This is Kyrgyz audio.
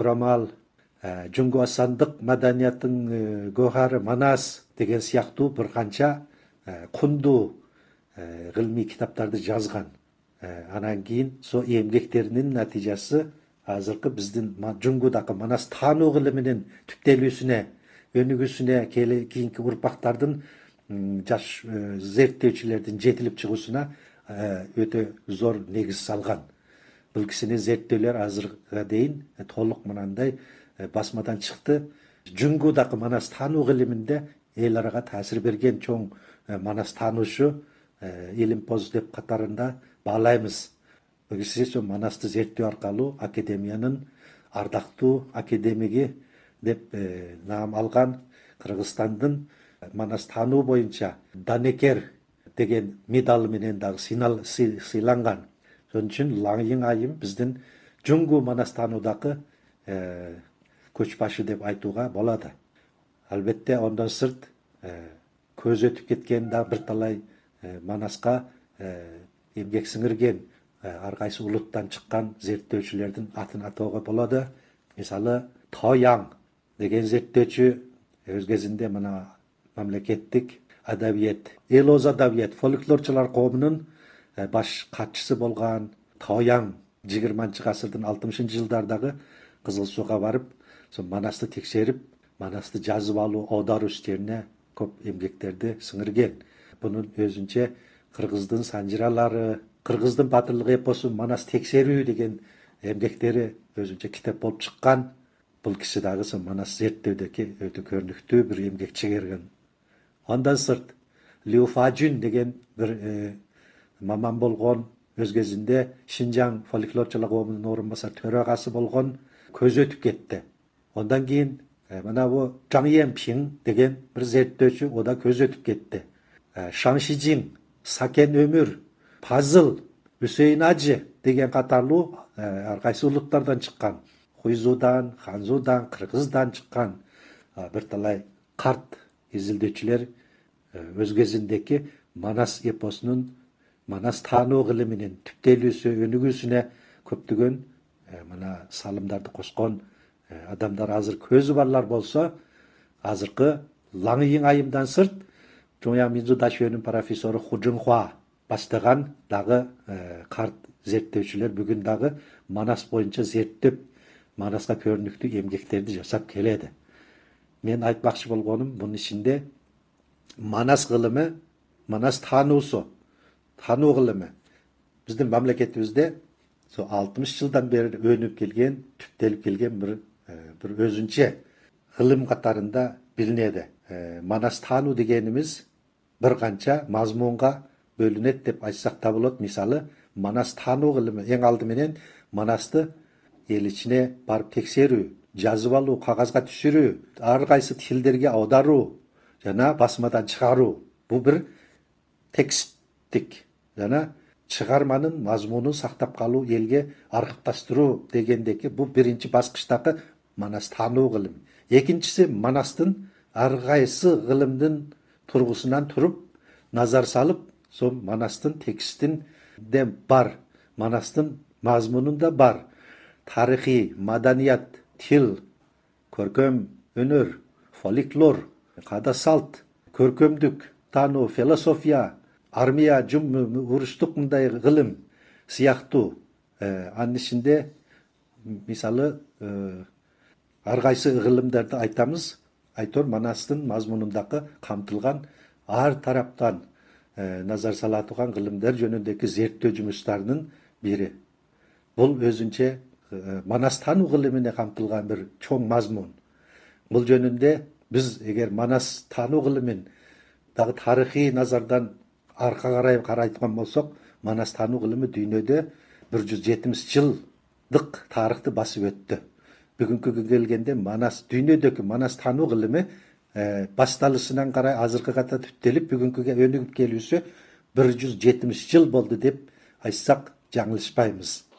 Курамал, Жунгу асандык маданиятын гохары Манас деген сыяктуу бир канча кундуу гылмий китаптарды жазган. Анан кийин со эмгектеринин натыйжасы азыркы биздин Жунгудагы Манас таануу гылымынын түптөлүүсүнө, өнүгүүсүнө, кийинки урпактардын жаш зерттөөчүлөрдүн жетилип чыгуусуна өтө зор негиз салган. Бул кишинин зерттөөлөр азыркыга дейин толук мынандай басмадан чыкты. Жунгудагы Манас таануу гылымында эл арага таасир берген чоң Манас таануучу Илимпоз деп катарында баалайбыз. Бул киши Манасты зерттөө аркылуу академиянын ардактуу академиги деп наам алган. Кыргызстандын Манас таануу боюнча Данекер деген медалы менен дагы сыйланган. Ошон үчүн Лаңйың айым биздин Жунгу Манас таануудагы көчбашы деп айтууга болот. Албетте ондон сырт көз өтүп кеткен да бир талай Манаска эмгек сиңирген ар кайсы улуттан чыккан зерттөөчүлөрдүн атын атоого болот. Мисалы Тояң деген зерттөөчү өз кезинде мына мамлекеттик адабият, эл оз адабият, фольклорчулар коомунун баш катчысы болгон Тояң 20-гасырдын 60-жылдардагы Кызыл Сууга барып, Манасты текшерип, Манасты жазып алуу, аударуу иштерине көп эмгектерди сиңирген. Бунун өзүнчө Кыргыздын санжыралары, Кыргыздын батырлык эпосу Манас текшерүү деген эмгектери өзүнчө китеп болуп чыккан. Бул киши дагы Манас зерттөөдөгү өтө көрүнүктүү бир эмгек чыгарган. Андан сырт Лю Фажун деген бир маман болгон, өз кезинде Шинжаң фольклорчулар коомунун орун басар төрагасы болгон, көз өтүп кетти. Ondan keyin mana bu Zhang Yanping деген bir zerttөөчү, o da көз өтүп кетти. Шан Шижин, Сакен Өмүр, Пазыл, Үсейин Ажы деген катарлуу ар кайсы улуттардан чыккан. Хуйзудан, Ханзудан, Кыргыздан чыккан бир талай карт изилдөөчүлөр өз кезиндеги Манас эпосунун, Манас таануу гылымынын түптөлүүсү, өнүгүүсүнө көптөгөн мына салымдарды кошкон адамдар азыр көзү барлар болсо, азыркы Лаңйың айымдан сырт Чоңяң Минзу Дашөнүн профессору Ху Жунхуа баштаган дагы карт зерттөөчүлөр бүгүн дагы Манас боюнча зерттеп, Манаска көрүнүктүү эмгектерди жасап келеді. Мен айтмакчы болгонум, бунун ичинде Манас гылымы, Манас таануусу, таануу гылымы биздин мамлекетибизде 60 жылдан бери өнүп келген, түптөлүп келген bir өзүнчө гылым катарында билинеди. Манас таануу дегенimiz bir канча мазмунга бөлүнөт деп айтсак да болот. Мисалы, Манас таануу гылымы эң алды менен Манасты эл ичине барып текшерүү, жазып алуу, кагазга түшүрүү, ар кайсы тилдерге аударуу жана басмадан чыгаруу. Бул бир тексттик жана чыгарманын мазмунун сактап калуу, элге архивдаштыруу дегендеги бул биринчи баскычтагы Манас таануу гылым. Экинчиси Манастын ар кайсы гылымдын тургусунан туруп, назар салып, сол Манастын текстинде бар, Манастын мазмунунда бар. Тарыхый, маданият, тил, көркөм өнөр, фольклор, када салт, көркөмдүк, таануу, философия, армия, уруштук мындай гылым сыяктуу. Анын ичинде мисалы ар кайсы гылымдарды айтамыз. Айтор Манастын мазмунундагы камтылган ар тараптан назар сала турган гылымдар жөнүндөгү зерттөө жумуштарынын бири. Бул өзүнчө Манас таануу гылымына камтылган бир чоң мазмун. Бул жөнүндө биз эгер Манас таануу гылымын дагы тарыхый назардан арка карай карайткан болсок, Манас таануу гылымы дүйнөдө 170 жылдык тарыхты басып өттү. Бүгүнкү күнгө келгенде дүйнөдөгү Манас таануу гылымы башталышынан карай азыркыга түптөлүп, бүгүнкүгө өнүгүп келүүсү 170 жыл болду деп айтсак жаңылышпайбыз.